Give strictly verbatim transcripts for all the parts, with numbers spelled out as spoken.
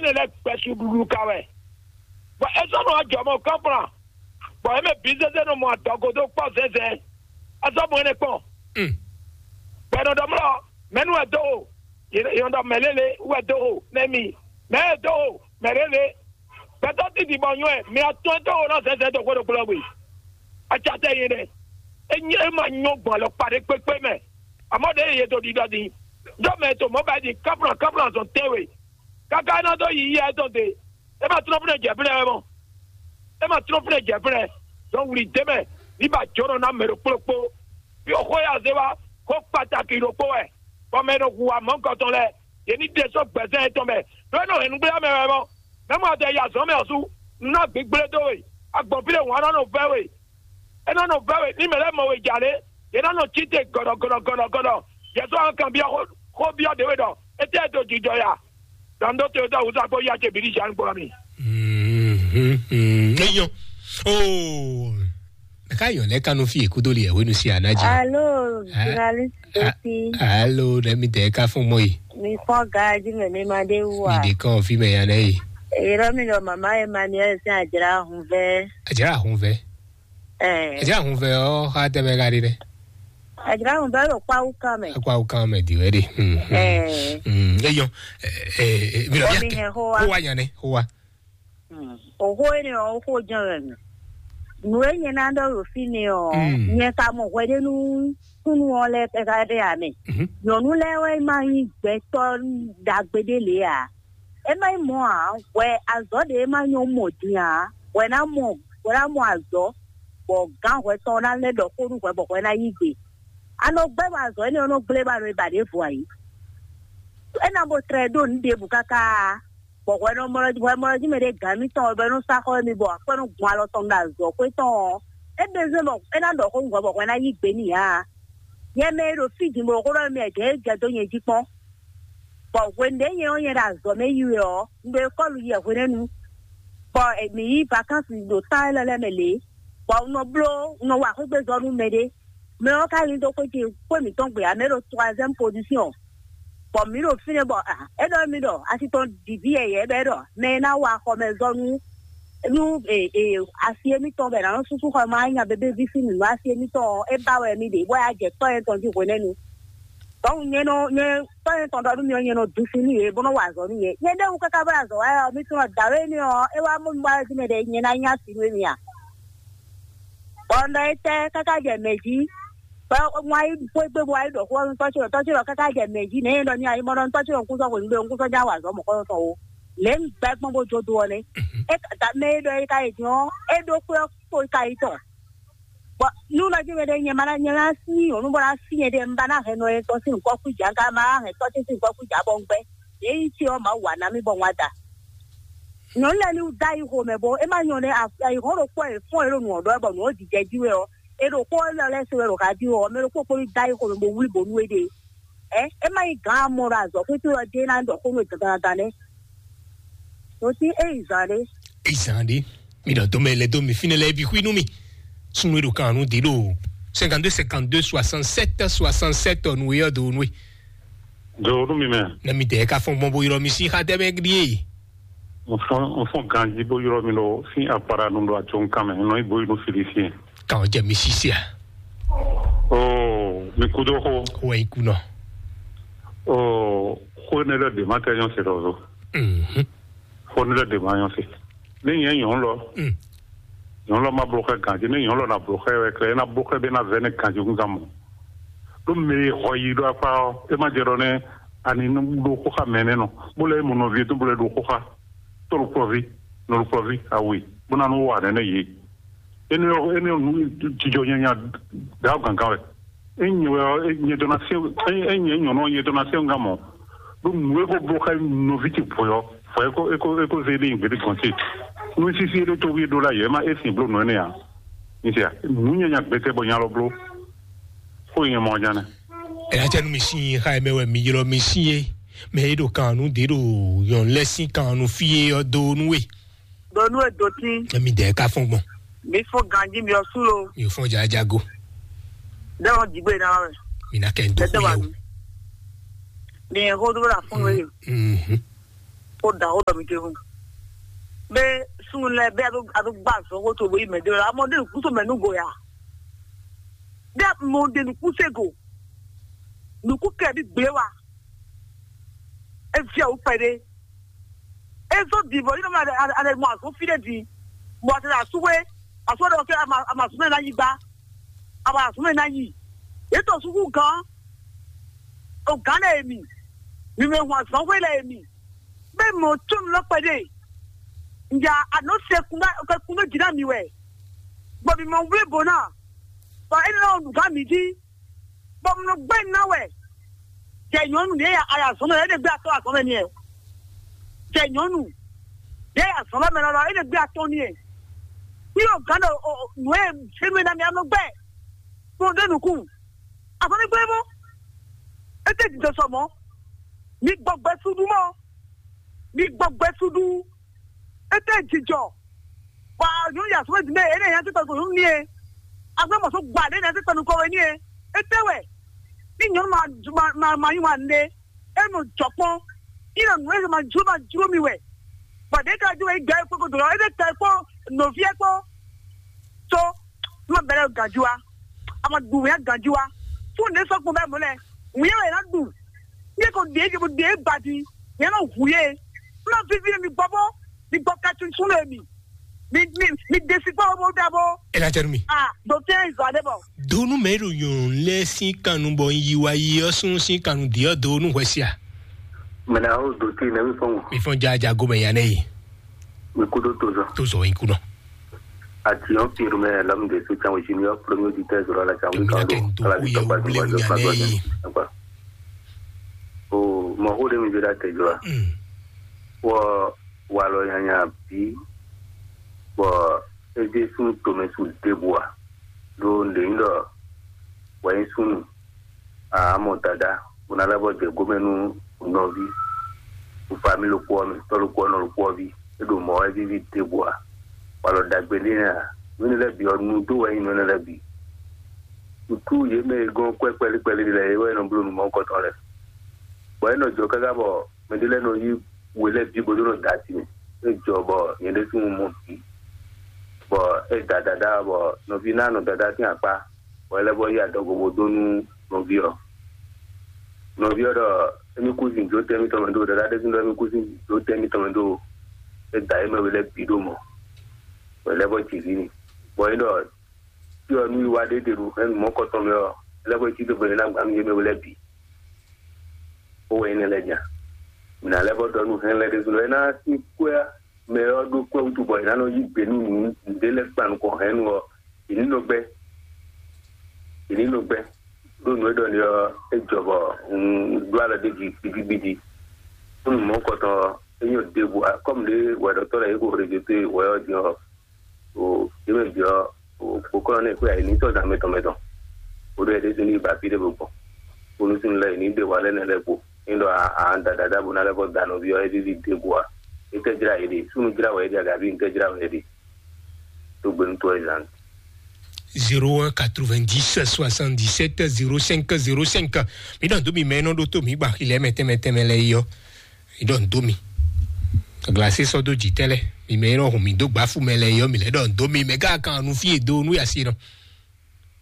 ne lɛ́ gbɛsu ɖuɖu ka wɛ. Bɔ é sɔ́ nɔ ajɔ mɔ kɔ́plan, bɔ é mɛ bǐ zézé nɔ mɔ adɔgo dó kpɔ́ zɛ́nzɛ́n. É sɔ́ mɔ énɛ́ kpɔn. Bɔ è nɔ ɖɔ mlɔ, mɛ̌ nu wɛ dó o? È nɔ ɖɔ mɛ̌ lélé wɛ dó o nɛ́ mi. Mɛ̌ e dó o? Mɛ̌ lélé. Gbɛtɔ́ titi bɔ nywɛ, mi atɔ́ɔ́n dó o nɔ zɛ́nzɛ́n dó xwé ɖokpó lɔ gbe. Acatɛ yé ɖɛ. É nyɛ é ma nyɔ gbɔn alɔkpa ɖé kpékpé mɛ. Àmọ́ ɖě yě dó ɖiɖɔ din. Dó mɛ to mɔ̌ ba din káplɔn káplɔn azɔn tɛ́nwe. Káká é ná dó yi yɛ tɔn te. É ma tlɔ́n fúnɛ jɛ fúnɛ wɛ mɔ. É ma tlɔ́n fúnɛ jɛ fúnɛ. Dɔn wuli dé mɛ, ní ba jǒnɔ ná mɛ ɖokpó ɖokpó. Fi xó ya zé wá, xó kpataki ɖokpó wɛ. Bɔ mɛ e nɔ hu wa mɔ̌hunkɔtɔn lɛ́ɛ, yě ní ɖe sɔ́ gbɛ̌zán yětɔn mɛ. Ɖó é nɔ hɛn nǔgbléá mɛ wɛ mɔ. Mɛ̌ mɔ adɛ yi azɔ̌ mɛ ɔ́ sú, un ná gbǐgblé dó we. Agbɔ̌n fí ɖé hǔn ɔ́ nɔ nɔ vɛ́ we. É nɔ nɔ vɛ́ we ní mɛ lɛ́ɛ mɔ we jà lé. Yě nɔ nɔ cí te gɔ̌ɖɔ gɔ̌ɖɔ gɔ̌ɖɔ gɔ̌ɖɔ. Yě sɔ́ hɔn kanbyɔ́ xó xó byɔ́ ɖě we ɖɔ étɛ́ e dó jijɔ ya. Dɔn ɖó te dó awusa kpó yá ce bǐ ɖi jan gbɔ mi. Mhm, mhm. Eyɔn. Oh. Ka yɔn lɛ kanu fi ekudo li ɛwenu si anaji. Alo, journaliste Sophie. Alo, ne mi de ka fún mɔ yi. Mi fɔ gaji mɛ mi ma de wu Mi a. De kan fi mɛ ya ne yi. Ero mi lɔ mama Emmanuel sin ajra hun vɛ. Ajra hun vɛ. Eh. Ajra hun vɛ o ha tɛ bɛ ka di dɛ. Ajra hun vɛ lo kpawu kan mɛ. Kpawu kan mɛ di wɛ de. Hmm. Eh. Hmm. Eyɔn. Eh, eh, mi lɔ Omi ya hɛn ho wa. Ho wa yan ne, ho wa. Oxó énɛ́ ɔ́, oxó jɛ́n wɛ mɛ. Nǔ e nyɛ ná ɖɔ ɖo fínɛ́ ɔ́, nyɛ ka mɔ hwɛɖénu súnnu ɔ́ lɛ́ɛ ká ɖe ǎ mɛ. Nyɔ̌nu lɛ́ɛ wɛ ma nyí gbɛtɔ́ ɖagbe ɖé lě ǎ. É má nyí mɔ̌ ǎ, hwɛ azɔ̌ ɖě e ma nyɔ́ mɔ din ǎ, hwɛ ná mɔ hwɛ ná mɔ azɔ̌, bɔ gǎn hwɛ tɔn ná lɛ́ ɖɔ xó nú hwɛ bɔ hwɛ ná yí gbe. A nɔ gbɛ́ bɔ azɔ̌ énɛ́ ɔ́ nɔ gblé ba nɔ e ba ɖěvo ǎ é. É ná bo tlɛ ɖó nǔ ɖěbǔ káká. Bɔ hwɛ nɔ mlɔ hwɛ mlɔ jí mɛ ɖé gǎn mítɔn ɔ́ bɔ é nɔ sá xɔ émí bɔ akwɛ́ nɔ gbɔn alɔ tɔn ɖo azɔ̌ xwé tɔn ɔ́, é ɖe zé bɔ é ná ɖɔ xó nú hwɛ bɔ hwɛ ná yí gbe n'i ǎ. Nyɛ mɛ e ɖo fí din bo ɖo xó ɖɔ mɛ jɛ é jɛ dó nyɛ jí kpɔ́n. Bɔ hwenu ɖě nyɛ ɔ́ nyɛ ɖo azɔ̌ mɛ yi wɛ ɔ́, un ɖo ekɔ́lu yi wɛ hwenɛ́nu. Bɔ mǐ yí vakánsi ɖo tán élɔ́ lɛ́ɛ mɛ lě, bɔ un nɔ bló un nɔ wa xwégbezɔ́ nú mɛɖé. Mɛ ɔ́ ka lín dó xwé ce xwé mǐtɔn gbe ǎ, mɛ ɖo troisième position. Bɔ mǐ ɖo fínɛ́ bɔ ah, é ɖɔ mì ɖɔ asi tɔn ɖi vǐ yɛyɛ̌ bɔ é ɖɔ mɛ e ná wa xɔmɛzɔ́ nú nú e e asi émítɔn bɔ è nǎ nɔ súsú xɔ ma nya bébéví sín nǔ asi émítɔn ɔ́, é ba wɛ mì ɖe bɔ é wá jɛ tɔ́ nyɛ tɔn jí hwenɛ́nu. Dɔnku nyɛ nɔ nyɛ tɔ́ nyɛ tɔn ɖɔ nú mi ɔ́, nyɛ nɔ dun sin nú yě bó nɔ wa azɔ̌ nú yě. Nyɛ ɖéwu káká bɔ azɔ̌ wa ɔ́, mi tunɔ dǎwe énɛ́ ɔ́, é wá mɔ mi wá jí mɛ ɖě nyɛ ná nyí asi nú émí a? Bɔ un ɖɔ étɛ́ káká jɛ mɛ̌ jí? Bɔ un wá yi xwé gbe bó wá yi ɖɔ xó ɔ́ nú tɔ́ ce ɖɔ tɔ́ ce ɖɔ káká jɛ mɛ̌ jí nɛ̌ e ɖɔ ní ayimɔ ɖɔ nú tɔ́ ce ɖɔ un kún sɔ́ hwenu gbe un kún sɔ́ já wa azɔ̌ mɔ̌kɔ́tɔn ó. Lě un gbɛ́ gbɔn bó jó do ɔ́ nɛ́. É ka da mɛ e ɖɔ é ka yi din ɔ́, é ɖó xwé ɔ́ kpo ka yi tɔn. Bɔ nú nɔ jí mɛ ɖé nyɛ ma ná nyɛ ná sí nyɔ̌nu bó ná sí nyɛ ɖé un ba ná hɛn nɔ e tɔn sín nǔkɔ kú jà un ka ma ná hɛn tɔ́ ce sín nǔkɔ kú jà bɔ un gbɛ́. Yě yi ce ɔ́ Mawu wa ná mì bɔ un wá da. Nyɔ̌nu lɛ́ɛ ní da yi xomɛ bó é má nyɔ́ nɛ́ ayǐhɔ́n ɖokpó wɛ fɔ́n e ɖo nǔ ɔ́ ɖɔ wɛ bɔ nǔ ɔ́ jijɛ jí wɛ ɔ́, è ɖo xó ɔ́ lɛ́ lɛ́ se wɛ ɖo ha jí wɛ ɔ́, mɛ ɖokpó kpó ní da yi xomɛ bó wlí bǒ nú éɖée. Ɛ é má nyí gǎn amɔ ɖo azɔ̌ xwító ɔ́ jí é ná ɖɔ xó nú dagannagán nɛ́. Nǔtí é yi zǎn ɖé. Izan ɖe, mi ɖɔ dome le do mi fine lɛ bi xui nú mi. Sunu ɖo kan nu di ɖo cinquante-deux cinquante-deux soixante-sept soixante-sept nu yɔ do nu. Do nu mi mɛ. Ne mi dɛ ka fɔn gbɔn bo yrɔ mi si xa dɛ mɛ ɖie. N fɔn n fɔn ganji bo yrɔ mi ɖo sin akpara nu ɖo atsɔnkan mɛ nɔ ibo yi nu fili si. Kan jɛ mi sisi a. Oh, mi kudo xo. Xo yi kunɔ. Oh, xo ne lɛ de ma tɛ nyɔ se ɖɔ zo. Mhm. Xo ne lɛ de ma nyɔ se. Ne nyɛ nyɔ lɔ. Mm. Nyɔ lɔ ma blo xɛ ganji ne nyɔ lɔ na blo xɛ wɛ kɛ na blo xɛ be na vɛ ne ganji kun kan mɔ. Ɖo mɛ e xɔ yi ɖo akpa ɔ e ma jɛ ɖɔ ne ani ɖo xo xa mɛ ne nɔ. Bo lɛ mo nɔvi to bo lɛ ɖo xo xa. Toro kpɔvi, nɔlu kpɔvi awe. Bo na nu wa ne ne ye. Ene ene nu jijɔ nyanya da gangan wɛ. Enyi wɛ enyi dona se enyi nyɔnɔ enyi dona se nga mɔ. Ɖo nu eko blo xa nɔvi ti bɔyɔ fɔ eko eko eko ze ɖe gbede gɔnte. Nu sisi ɖe to wi ɖo la yɛ ma esi blo nɔ ene ya. Nisia nu nyanya gbete bɔ nyalɔ blo. Ko nyɛ mɔ jana. Ela tɛ nu mi si xa mɛ wɛ mi ylɔ mi si ye. Mɛ e ɖo kan nu de ɖo yɔn lɛ si kan nu fi ye ɔ do nu we. Ɖo nú e do tín. Emi dɛ ka fɔn gbɔn. Mi fún ganjí mi ɔsú lo. Mi fɔn jajago. Dɛwɔn jigbe na wɛ. Mi na kɛ n do Dɛdɛ wa fún mi. Yɛ o. Mi yɛ ho dúró la fún mi yìí. Mhm. Xó ɖaxó ɖɔ mi ɖe hun. Be súnnu lɛ́ɛ be a ɖo a ɖo gbá azɔn xó to bo yi mɛ ɖé lɔ. Amɔ ɖe nǔkúnso mɛ nú go ya. Ɖe mɔ ɖe nǔkúnse go. Nǔkún kɛ bi gblé wa. E fia wú kpɛɖé. E zɔ di bɔ yi nɔ mɛ a ɖe mɔ azɔn fi ɖe di. Bɔ a te ɖe asúwe. Asúwe ɖɔ kɛ a ma a ma súnmɛ ná yi gbá. A ma súnmɛ ná yi. Yě tɔ súkú gán. O gán lɛ e mi. Mi mɛ hun azɔn xwé lɛ e mi. Bɛ mɔ tsɔnu lɔ kpɛɖe. Nja anɔ se kun bɛ kun bɛ jina mi wɛ. Bɔ mi mɔ wle bo na. Bɔ e nɔ nugá mi jí. Bɔ mi nɔ gbɛ na wɛ. Jɛ nyɔnu ɖe ya aya zɔn mɛ, e ɖe gbɛ atɔ azɔn mɛ ni ɛ. Jɛ nyɔnu ɖe ya zɔn mɛ lɔlɔ, e ɖe gbɛ atɔ ni ɛ. Ni o gán ɖe o nù e se nù e na mi anɔ gbɛ. Kplɔn ɖe nukun. Azɔn mi gbɛ mɔ. E tɛ didɔ sɔ mɔ. Mi gbɔ gbɛ sudu mɔ. Mi gbɔ gbɛ suɖu. Ete jijɔ. Wa nyɔnu ya sɔmɛ dime ene ya titɔ ko nyɔnu nie. Asɔ mɔ so gba ɖe na titɔ nukɔ we nie. Ete wɛ. Ni nyɔnu ma ma ma ma yi wa ne. Enu jɔkpɔn. Ina nu ese ma juro ma juro mi wɛ. Bɔ ɖe ka ju wɛ gbɛ kpɔkɔ dɔrɔn ete ka kpɔ nɔviɛ kpɔ. So ma bɛlɛ ganji wa. A ma ɖu wɛ ganji wa. Fún ne sɔ kpɔn bɛ mɔ lɛ. Wíyá wɛ na ɖu. Ní kò dé dé badi, ní ɛnɔ hu yé. Ní ɔ́ vivi mi gbɔ bó, mi gbɔ ka tuntun lé mi. Mi mi mi desi gbɔ bó dá bó. Ela tɛ nu mi. Ah, dɔkítɛ Izɔade bɔ. Donu mɛ ɖo nyɔnu lɛ sin kanu bɔ yi wa yi ɔ sun sin kanu di ɔ donu hwɛ sia. Mɛ na o dɔkítɛ nɛ mi fɔn. Mi fɔn ja ja go mɛ ya nɛ yi. Mi kudo tozɔ. Tozɔ yi kunɔ. Ati ɔn piro mɛ lam de so can wisi mi ɔ premier auditeur zoro ala can wi kan do ala di tɔgba di wa do pa do ne. O mɔ xó ɖé mi vi ɖe atɛ jɔ a. Wɔ walɔ nyanya bí bɔ é ɖésú tomɛsu ɖěbǔ a ɖo nǔɖé nyí ɖɔ wɛ nyí súnnu a mɔ dadá bó ná lɛ́ bɔ jɛ gómɛ nú nɔví fami ɖokpó ɔ́ mɛ tɔ́ ɖokpó ɔ́ nɔ ɖokpó ɔ́ ví é ɖo mɔ̌ wɛ víví ɖěbǔ a walɔ ɖagbe ɖé nɛ́ a nǔ énɛ́ lɛ́ɛ bǐ ɔ́ nu dó wɛ nyí nǔ énɛ́ lɛ́ɛ bǐ. Nǔtú yě mɛ e gɔ́n kwɛ́ kpɛ́lí kpɛ́lí lɛ́ɛ é wɛ nɔ bló nǔ mɔ̌hunkɔtɔn lɛ́ɛ. Bɔ é nɔ jɔ káká bɔ mɛ ɖé lɛ́ɛ nɔ yí we lɛ́ɛ bǐ bó dó nɔ da ati mɛ. É jɔ bɔ nyɛ ɖésú un mɔ bǐ. Bɔ é da dadá bɔ nɔví ná nɔ dadá sín akpá, bɔ é lɛ́ vɔ yí adɔgo bó dó nú nɔví ɔ́. Nɔví ɔ́ ɖɔ émí kú sin jó tɛ́ mítɔn mɛ dó, dadá ɖésú ɖɔ émí kú sin jó tɛ́ mítɔn mɛ dó. É da é mɛ we lɛ́ɛ bǐ ɖó mɔ, bɔ é lɛ́ vɔ jǐ ví ni. Bɔ é ɖɔ tí ɔ nú wiwa ɖé ɖe ɖo hɛn nǔ mɔkɔtɔn mɛ ɔ́, é lɛ́ vɔ cí dó gbɛmɛ ná gbǎ nú yě mɛ we lɛ́ɛ bǐ. Ó wɛ nyí nɛ́ lɛ́ɛ nya. Mǐ ná lɛ́ vɔ ɖɔ nú hɛn lɛ́ɛ ɖésú ɖɔ é ná sín kwɛ́ mɛ ɔ́ ɖó kwɛ́ wútu bɔ è nǎ nɔ yí gbe nú nǔ nǔɖé lɛ́ɛ kpan nukɔn hɛn nu ɔ́, è ní nɔ gbɛ́. È ní nɔ gbɛ́. Ɖó nǔ e ɖɔ ni ɔ́, é jɔ bɔ un ɖó alɔ ɖ'é jí gbidigbidi. Nú nǔ mɔkɔtɔn ɔ́, é nyɔ́ ɖěbǔ, kɔ́mu ɖé wɛɖɔtɔ́ lɛ́ɛ yě ko hwlé jǒ dó wɛ ɔ́ din ɔ́, o yě mɛ bǐ ɔ́, o kpokɔ́nɔ nɛ́ xwé ayǐ ní tɔ́ dan mɛtɔn mɛtɔn. O ɖɔ yě ɖésú ní yi ba fí ɖé bó gbɔn. Bónú sín lɛ́ yě ní ɖe wa lɛ́ nɛ́ lɛ́ɛ kpo. Ní ɖɔ a a da dadá bó ná lɛ́ vɔ da nɔví ɔ́, é víví ɖěbǔ ǎ. É tɛ́ jlá yě ɖe, súnnu jlá wɛ é ɖe, agaví ntɛ́ jlá wɛ é ɖe. Tó gbénu tó ɛ zan. Zéro un quatre-vingt-dix soixante-dix-sept zéro cinq zéro cinq. Mi ɖɔ dó mi mɛ nɔ ɖó tó mi gba xilɛ mɛ tɛmɛ tɛmɛ lɛ yɔ. Mi ɖɔ dó mi. Glasi sɔ dó jitɛ lɛ. Mi mɛ nɔ hun mi dó gbafu mɛ lɛ yɔ mi lɛ ɖɔ dó mi mɛ gá kan nu fie do nu yasi nɔ.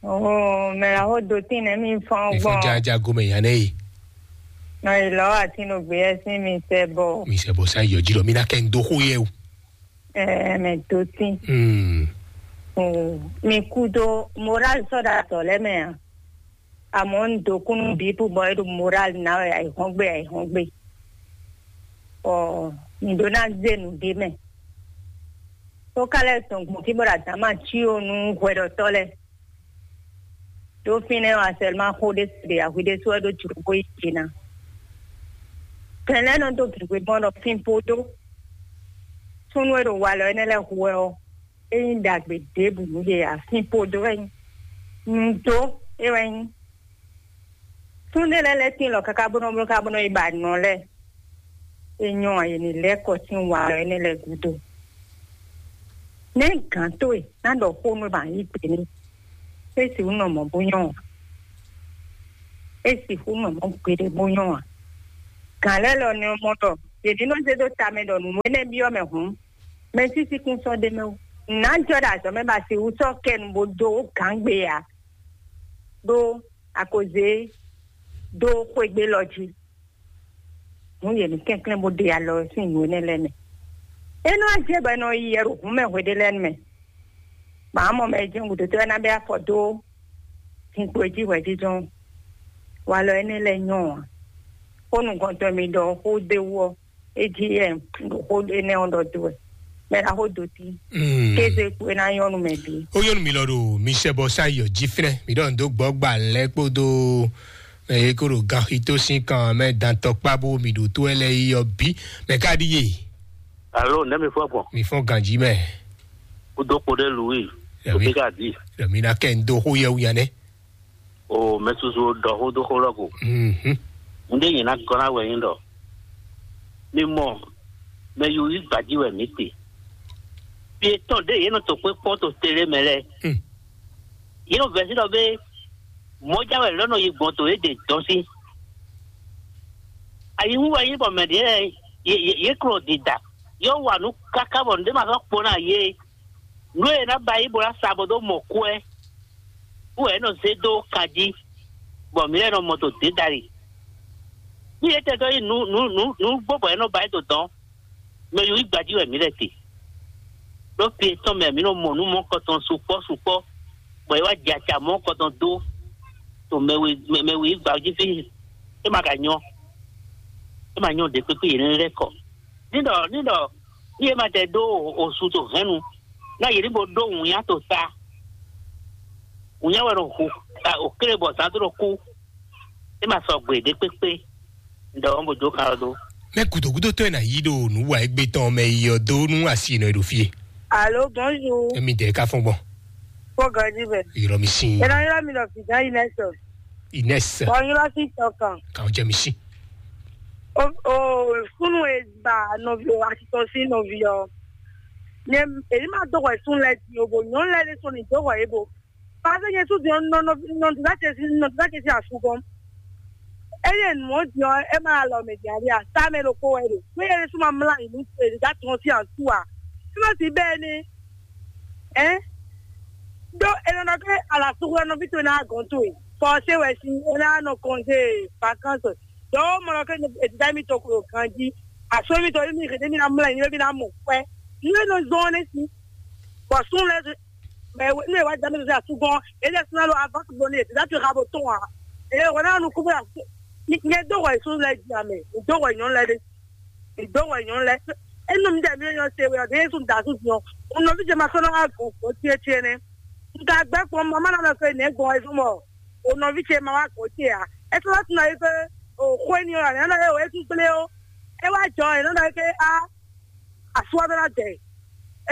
Oh, mɛ la ho do tin nɛ mi fɔn gbɔn. Mi fɔn ja ja go mɛ yan nɛ yi. Nɔ ilɔ ati no gbe yɛ sin mi sɛ bɔ. Mi sɛ bɔ sa yɔ ji lɔ mi na kɛ n do xo yɛ o. Ɛɛ, mɛ do tin. Hmm. Oh, mi kudo moral sɔ da tɔ lɛ mɛ a. Àmọ́ ń dokúnú bíbú bɔ é ɖo moral ná wɛ àìhɔ́ngbe àìhɔ́ngbe. Ɔ, ǹdó ná zé nǔ ɖé mɛ. Tó ká lɛ́ sɔn gbɔn fí bɔ ɖo adǎma cí ó nú hwɛɖɔtɔ́ lɛ́ɛ. Ɖó fínɛ́ ɔ́, asɛlma xó ɖé se ɖe ahwi ɖé sú wɛ ɖó jlǒ bó yi jǐ ná. Tɛn lɛ́ɛ nɔ dó gěgbe gbɔn ɖɔ fínpódó súnnu e ɖo walɔ énɛ́ lɛ́ɛ hu wɛ ɔ́, é nyí ɖagbe ɖěbǔ nú yě ǎ. Fínpódó wɛ nyí. Nǔdó é wɛ nyí. Súnnu lɛ́ɛ lɛ́ tín lɔ káká bó nɔ bló ká bó nɔ yi ba nɔ lɛ́ɛ. É nyɔ́ ǎ, yě ní lɛ́ kɔ sín wa ɔ́ énɛ́ lɛ́ɛ gúdo. Nɛ̌ gǎn towe ná ɖɔ xó nú ba yí gbe n'i? É sixú nɔ mɔ̌ bó nyɔ́ ǎ. É sixú nɔ mɔ̌ gbeɖé bó nyɔ́ ǎ. Gǎn lɛ́ɛ lɔ ní ɔ́ mɔ ɖɔ Yě ní nɔ zé dó tamɛ ɖɔ nǔ énɛ́ byɔ́ mɛ hǔn, mɛ sísí kún sɔ́ ɖ'é mɛ ó. Nǎ jɔ ɖo azɔ̌ mɛ ba si wú sɔ́ kɛ nu bó dó gǎngbe ǎ, ɖó a ko zě dó xwégbé lɔ jí. Hǔn yě ní kɛnklɛ́n bó ɖe alɔ sín nǔ énɛ́ lɛ́ɛ mɛ. É nɔ jɛ bɔ è nɔ yi yɛ ɖo hǔn mɛ hweɖé lɛ́ɛ mɛ. Mǎ mɔ mɛ e jɛ́n gǔdo tɔ́ ná bɛ afɔ dó zinkpo e jí hwɛjijɔ́n. Walɔ énɛ́ lɛ́ɛ nyɔ́ ǎ. Xó nukɔntɔn mi ɖɔ xó ɖé wú ɔ́, é jí yɛ ɖo xó énɛ́ ɔ́ ɖɔ dó wɛ. Mɛ ɖaxó dó tí. Kéze kú é ná nyɔ́ nú mɛ bǐ. Ó nyɔ́ nú mi lɔ ɖo mi sɛ bɔ sá yɔ jí fínɛ́. Mi ɖɔ ndo gbɔ gba lɛ kpódó mɛ e kó ɖo ganxito sín kan mɛ dantɔkpá bó mi ɖo tó ɛ lɛ yi ɔ bí. Mɛ ká ɖíe. Alo, nɛ́ mi fɔ gbɔn? Mi fɔn ganjí mɛ. Kúdó kpo ɖé Louis. Rẹ̀mí. Òbí ká dì. Rẹ̀mí ná kẹ́ ń dó xó yẹ wúnya nɛ́. O mɛ susu ɖɔ xó dó xó lɔ ko. Mhm. Ŋɖé nyɛ ná gɔ́ ná wɛ nyí ɖɔ mi mɔ mɛ yúyí gbǎjí wɛ mǐ te. Fí e tɔn ɖé yě nɔ to kpé kpɔ́n to télé mɛ lɛ́ɛ. Hmm. Yě nɔ vɛ̌ sí ɖɔ bé mɔ̌já wɛ lɔ̌ nɔ yi gbɔn to yě ɖe dɔn sí. Ayihún wɛ nyí bɔ mɛ ɖě lɛ́ɛ yě yě yě klɔ dida yě wa nǔ káká bɔ nǔɖé ma sɔ́ kpo ná yě. Nǔ e è nǎ ba yí bó ná sa bó dó mɔ kú wɛ, wú wɛ é nɔ zé dó kan jí, bɔ mǐ lɛ́ nɔ mɔ to dě dali. Nú yě tɛtɔ́ yí nǔ nǔ nǔ nǔ gbó bɔ é nɔ ba yí dó dɔn, mɛ yǒ yí gbají wɛ mǐ lɛ́ te. Ɖó fi tɔn mɛ mǐ nɔ mɔ nǔ mɔ̌kɔtɔn sukpɔ́ sukpɔ́, bɔ é wá jɛ acǎ mɔ̌kɔtɔn dó to mɛ we mɛ we yí gbají fí, é ma ka nyɔ́, é ma nyɔ́ ɖě kpékpé yě ní lɛ́ kɔ. Ní ɖɔ ní ɖɔ ní yě ma tɛ ɖó osu to hɛnnu, ná yě ní bo ɖó wǔnya to ta. Wǔnya wɛ nɔ hu ta òkéré bɔ zǎn dó ɖo kú. É ma sɔgbe ɖě kpékpé. Ɖɔ ɔ́ bo jó kan ɔ́ dó. Mɛ gudogudotɔ́ e na yí ɖo nǔ wa égbé tɔn mɛ yi ɔ́ dó nú asi nɔ e ɖo fí e. Alo, bonjour. Emi dɛ ka fɔn gbɔn. Fo ganji bɛ. Yɔrɔ mi sin. Ena yɔrɔ mi nɔ fi gan Inès. Inès. Bɔ yɔrɔ si tɔ kan. Kan jɛ mi sin. O o sunu e ba nɔvi o atitɔ si nɔvi ɔ. Ne èyí ma dɔgɔ sun lɛ di o bo nyɔnu lɛ de sɔn ni dɔgɔ ye bo. Pase nye su di nɔ nɔ nɔ dida ce si nɔ dida ce si asu gɔn. Eye nɔ di ɔ e ma alɔ mɛ di ali a sa mɛ ɖo ko wɛ ɖo. Ko ye su ma mla yi nu dida tɔn si asu a. Sima si bɛ ne. Ɛ. Do e nɔ ke ala sugu nɔ vi to na gɔn to e. Fɔ se wɛ si e na nɔ kɔnze vacances. Dɔw mɔ nɔ ke dida mi to ko ganji. Aso mi to mi ke mi na mla yi nu mi na mɔ kwɛ. Nu e nɔ zɔn ne si. Bɔ sun lɛ mɛ ne wa dame sɛ asugɔn ele suna lo avance bɔ ne dada tu ha bo tɔn a ele wɔ na nu kubo la nye do wɔ sun lɛ di ame do wɔ nyɔnu lɛ de do wɔ nyɔnu lɛ enu mi dɛ mi nyɔ se wɛ ɔdɛ yesu da su diɔ o nɔvi jɛ ma sɔnɔ ha gbɔn gbɔn tiɛ tiɛ nɛ nka gbɛ kpɔn mama na mɛ fɛ nɛ gbɔn ɛsɔn mɔ o nɔvi ce ma wa gbɔn tiɛ a ɛsɛ wa tuna yi fɛ o xɔ eni o la ne ana ye o esu kple o e wa jɔ e nana yi ke a asua bɛ na dɛ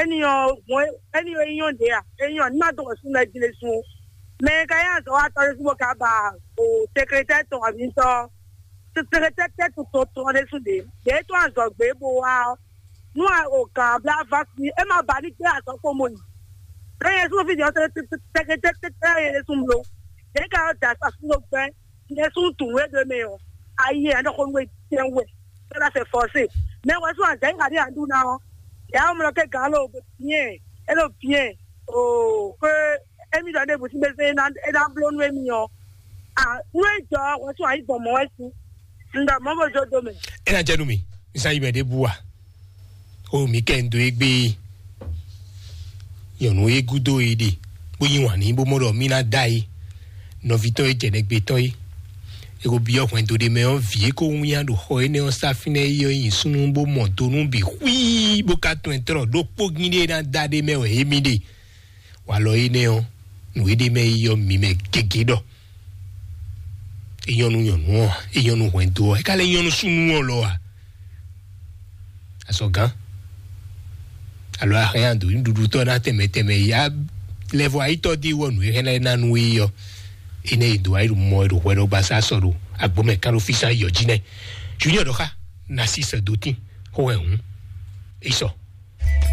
eni ɔ gbɔn eni ɔ enyɔ de a enyɔ ni ma dɔgɔ sun lɛ jile sun mɛ ka ya zɔ wa tɔ de sun bɔ ka ba o sekretɛri tɔn abi ŋutɔ sekretɛri tɛ tɔn tɔn de sun de de to azɔ gbe bo wa ɔ nu a o gan bla va fi e ma ba ni gbe azɔ kpo mo yi lɛ yɛ sun fi jɔ sekretɛri tɛ yɛ de sun blo de ka yɔ da sa sun lo gbɛ ne sun tun we de mɛ ɔ ayi yɛ ne ko nwe tɛ wɛ. Cela c'est forcé. Mais wɛ sún azɛ yi kadi andu na ɔ ya mlɔ ke gan lo bien elo bien o ke emi dɔ ne busi bɛ se na e na blo nu emi ɔ a nu e jɔ wɛ sún ayi gbɔn mɔ wɛ si nda mɔ bo jo do mɛ. E na jɛ nu mi nsa yi mɛ de bu wa o mi kɛ n do egbe nyɔnu e gudo e de bó yi wàn ní bó mɔ dɔ mi na da yi nɔvi tɔn e jɛ nɛgbe tɔn e eko biɔ hwɛndo ɖe mɛ ɔ vi e ko wúnya ɖo xɔ énɛ́ ɔ́ sá fínɛ́ é ɔ́ nyi súnnu bó mɔ do nú bǐ xwíí bó ka tɔn ɛ trɔ ɖó kpógín ɖé ná da ɖé mɛ wɛ émí ɖe. Walɔ énɛ́ ɔ́ nǔ e ɖ'é mɛ é yɔ mǐ mɛ gěgé ɖɔ é nyɔ́ nú nyɔ̌nu ɔ́ ǎ, é nyɔ́ nú hwɛndo ɔ́, é ka lɛ́ nyɔ́ nú súnnu ɔ́ lɔ ǎ. Azɔ̌gán alo ahɛn ado nǔɖuɖutɔ́ ná tɛnmɛ tɛnmɛ ya lɛvɔ ayitɔ dí wɔ nǔ e hɛn lɛ́ ná nú é ɔ́, énɛ́ e dǒ ayǐ mɔ e ɖo hwɛ ɖɔ gbasá sɔ ɖo agbomɛ kán ɖo físá yɔ jí nɛ́. Junior ɖɔ xá ná sí sɛ dó tín xó hɛn hǔn é sɔ.